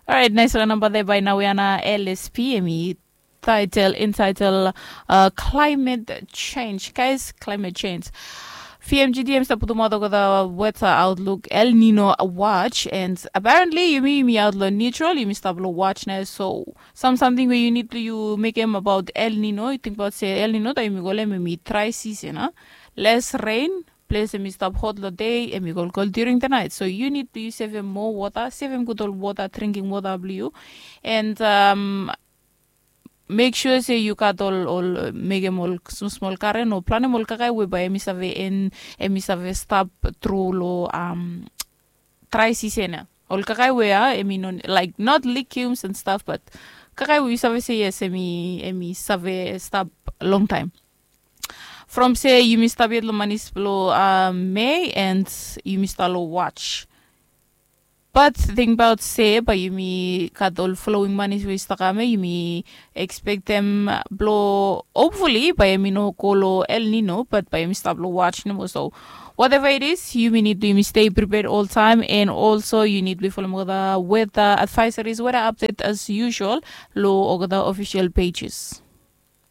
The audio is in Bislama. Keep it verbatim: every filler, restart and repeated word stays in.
Orait, naisara namba de bai nau ya na L S P em i title entitle uh, climate change, guys, climate change. P M G D em stap putumaot olgeta weather outlook El Nino watch, and apparently yumi yumi aot lo neutral, yumi stap lo watch na. So sam samting we you need to you mekem about El Nino, you tingbaot se El Nino ta yumi kolem em i dry season a, less rain, ples em i stap hot lo dei, em i kolkol during the night. So you need to you sevem moa water, sevem gud ol water, drinking water blo you, and um, make sure se you gat ol ol mekem ol smosmol garen o planem ol kakae we bai em i save en, em i save stap tru lo um, dry season ya. Ol kakae we ya em i no, like, not legumes and stuff, but kakae we yu save se yes, em i em i save stap long taem. From se yumi stap yet lo manis blo uh, Mei, and yumi stap lo watch. But tingbaot se bai yumi gat ol flowing manis we i stap kam ya, yumi expectem blo hopefully bai em i no go lo El Nino, but bai em i stap lo watch nomo. So whatever it is, yumi need to yumi stay prepared all time, and also you need to follow olgeta weather advisories, weather update as usual lo olgeta official pages.